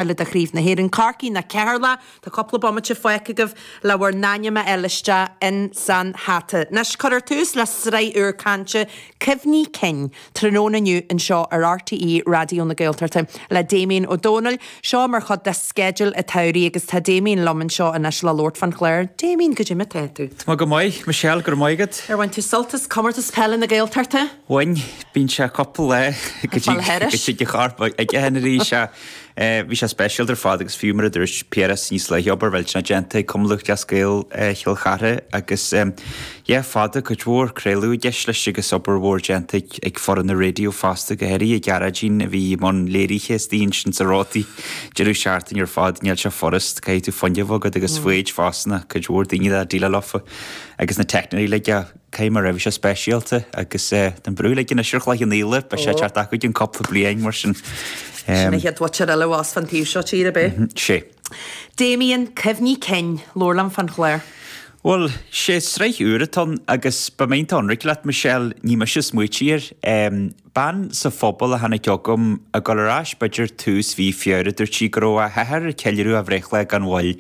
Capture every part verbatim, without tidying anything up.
Eile de Chraobh na hÉireann, Corcaigh nó Ceatharlach. Tá cúpla bomaite fágtha agaibh le bhur n-ainm a fháil isteach in san hata. Anois, cuirfear tús le sraith úr cainte, Cuimhní Cinn, tráthnóna inniu anseo ar R T É Raidió na Gaeltachta le Damien Ó Dónaill. Seo mar chuid de sceideal an tsamhraidh agus tá Damien liom anseo anois le labhairt fán chlár. Damien, goidé mar atá tú? Tá go maith, Michelle, go raibh maith agat. Ar bhain tú sult as comórtas peile na Gaeltachta? Bhain. Bíonn sé cúpla lá go dtí go chorp ag arís. Bhí sé speisialta ar fad agus fiú mar a dúirt Piaras níos luaithe, obair mhillteanach déanta ag Cumann Lúthchleas Gael Chill Chartha agus yeah fada cuid mhór craoladh i gceist leis agus obair mhór déanta ag ag foireann na raidió fosta, go háirithe Gearóidín a bhí i mbun léirithe istigh ansin sa rótaí deireadh seachtaine ar fad. Níl sé furast, caithfidh tú fuinneamh agat agus foighid fosta, cuid mhór daoine le déileáil leofa agus na teicneoirí uilig. Caithfidh mé a rá, bhí sé speisialta agus an brú uilig anois ar Chloich Cheann Fhaola, beidh sé ag teacht acu i gcionn cúpla bliain mar sin. Sin an chéad mhuintir eile abhus fan taobh seo tíre, ab é? Sé. Damien, cuimhní cinn, labhair liom fán chlár. Bhuel, sé sraith úr atá ann agus beidh mé iontach ionraic leat, Michelle, ní mise a smaoitigh air. Bean sa phobal a tháinig chugam ag dul ar ais b'fhéidir tús mhí Feabhra, dúirt sí go raibh a hathair ag ceiliúradh a bhreithlá gan mhoill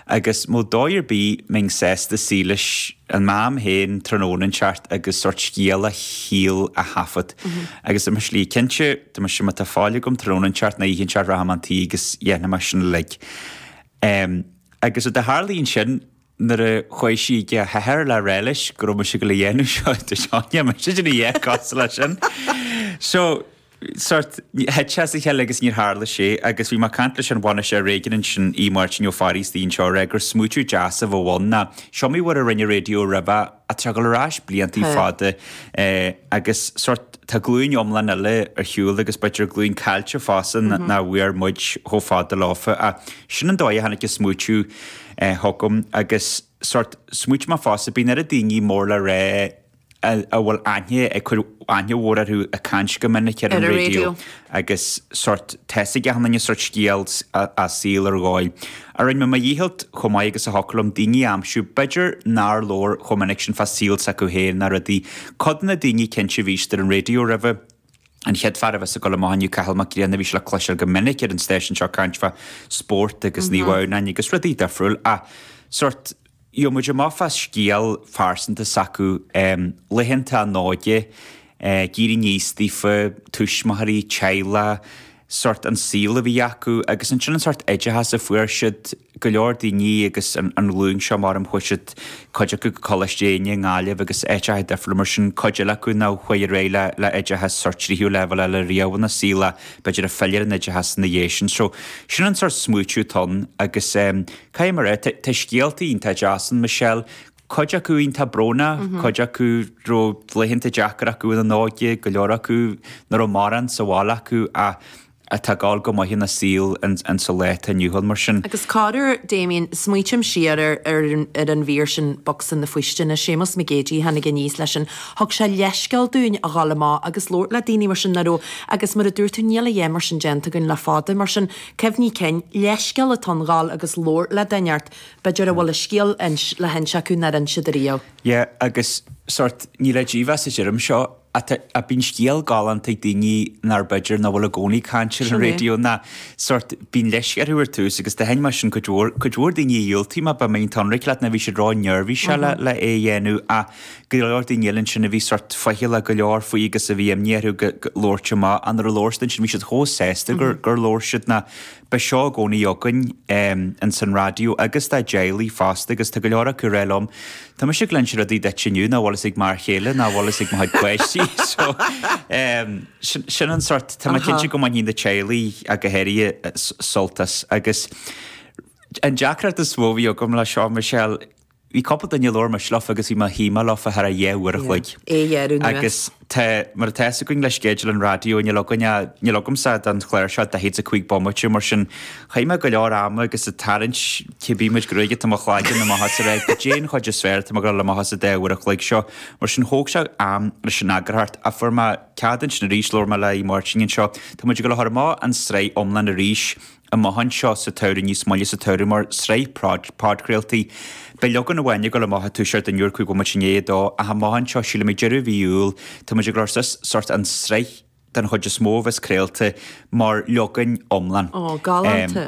agus an mbeadh dóigh ar bith mbeinn sásta suí leis an Mam féin tráthnóna inteacht agus sórt scéal a shaoil a thaifead. Agus dúirt mise léi, cinnte, dúirt mise, má tá fáil agam tráthnóna inteacht nó oíche inteacht rachaidh mé chun tí agus dhéanfaidh mé sin uilig. Agus rud a tharlaigh ansin nuair a chuaigh sí ag a hathair le rá leis go raibh mise ag dul a dhéanamh seo, dúirt sé, níl mise ag déanamh a dhath cosúil leis sin. So, sórt, thit sé as a chéile agus níor tharla sé agus bhí mé ag caint leis an bhainisteoir réigiúin ansin, Aodh Máirtín Ó Fearraigh istigh anseo ag rá gur smaoitiú deas a bheadh ann ná seo iomaí uair a rinne raidió roimhe ach tá sé ag dul ar ais bliantaí fada agus sórt tá glúin iomlán eile ar shiúl agus b'fhéidir glúin caillte fosta nach bhfuair muid chomh fada leofa ach sin an dóigh a tháinig an smaoitiú chugam agus sórt smaoitigh mé fosta bíonn oiread daoine mór le rá a bhfuil aithne ag cur aithne mhór orthu ag caint go minic ar an raidió agus sórt tá fhios ag achan duine sórt scéal a saol ar dhóigh. A rinne mé mo dhícheall chomh maith agus a thiocfadh liom daoine a aimsiú b'fhéidir nár labhair chomh minic sin fá saol s'acu féin ná rudaí. Cuid de na daoine cinnte a bhí siad ar an raidió roimhe. An chéad fear a bheas ag dul amach inniu, Cathal Mac Grianna, bhí sé le cloisteáil go minic ar an stáisiún seo ag caint fá spórt agus Naomh Adhamhnáin agus rudaí difriúil ach sórt Gheobhaidh muid amach fá scéal phearsanta s'acu, laethanta a n-óige, ag éirí aníos daofa, tuismitheoirí, teaghlach, sórt an saol a bhí acu agus ansin an sórt oideachas a fuair siad, go leor daoine agus an ghlúin seo mar chuaigh siad, cuid acu go Coláiste Éinne i nGaillimh agus áiteacha difriúla mar sin, cuid eile acu nár chuaigh ar aghaidh le le oideachas sórt tríú leibhéal eile riamh ina saol ach b'fhéidir ag filleadh ar an oideachas ina dhiaidh sin. So sin an sórt smaoitiú atá ann agus Caithfidh mé a rá, tá scéalta iontach deas ann, Michelle, cuid acu iontach brónach, cuid acu raibh laethanta deacair acu ina n-óige, go leor acu nach raibh mórán sa bhaile acu ach atá ag gabháil go maith ina saol insa lá atá inniu ann, mar sin. Agus corruair, Damien, smaoitím siar ar ar an mhír sin Bocsa na Faoistine, Séamus Mac Géidigh a tháinig aníos leis sin, thug sé leithscéal dúinn a dhul amach agus labhairt le daoine mar sin nach raibh, agus mar a dúirt tú, níl a dhath mar sin déanta againn le fada, mar sin, Cuimhní cinn, leithscéal atá ann dhul agus labhairt le duine inteacht, b'fhéidir a bhfuil a scéal le hinse acu nár inis siad ariamh. Yeah, agus sórt, ní le dímheas a deirim seo, ach tá, bíonn scéal galánta ag daoine nár b'fhéidir nach bhfuil i gcónaí ag caint ar an raidió ná sórt, bíonn leisce orthu ar tús agus do sheinn mé sin cuid mhór, cuid mhór daoine a dhiúltaigh má beidh mé iontach ionraic leat ná bhí siad ró-neirbhíseach le, le é a dhéanamh ach go leor daoine eile ansin a bhí sórt faichilleach go leor faoi agus a bhí imní orthu go, go labhairt amach ach nuair a labhair siad ansin bhí siad chomh sásta gur, gur labhair siad ná beidh seo i gcónaí againn ins an raidió agus dá dteaghlaigh fosta agus tá go leor acu ag rá liom tá mise ag inse rudaí duit inniu nach bhfuil fhios ag m'fhear chéile nach bhfuil fhios ag mo chuid páistí so sin, sin an sórt, tá mé cinnte go mbainfidh na teaghlaigh ach go háirithe sult as agus an deacracht is mó a bhí agam le seo, Michelle, Bhí cúpla duine a labhair mise leofa agus bhí mé shuigh mé leofa thar a dhá uair a chloig. É a ghearradh anuas. Agus tá, mar atá fhios againn le sceideal an raidió, níl againn ach, níl agamsa don chlár seo daichead is a cúig bomaite, mar sin chaith mé go leor ama agus ag tarraingt cibé méid gruaige atá i mo chloigeann amach as a rá goidé an chuid is fearr atá mé ag dul amach as an dá uair a chloig seo. Mar sin thóg sé am leis an eagarthóireacht ach fuair mé cead ansin arís, labhair mé le Aodh Máirtín anseo, tá muid ag dul a chur amach an tsraith iomlán arís, amach anseo sa tsamhradh, níos moille sa tsamhradh, mar sraith podchraoltaí. Beidh leagan amháin ag dul amach ag toiseacht inniu ar cúig bhomaite i ndiaidh a dó, ach amach anseo, sílim ag deireadh mhí Iúil, tá muid ag dul suas sórt an sraith den chuid is mó a bheas craolta mar leagan iomlán. Ó, galánta.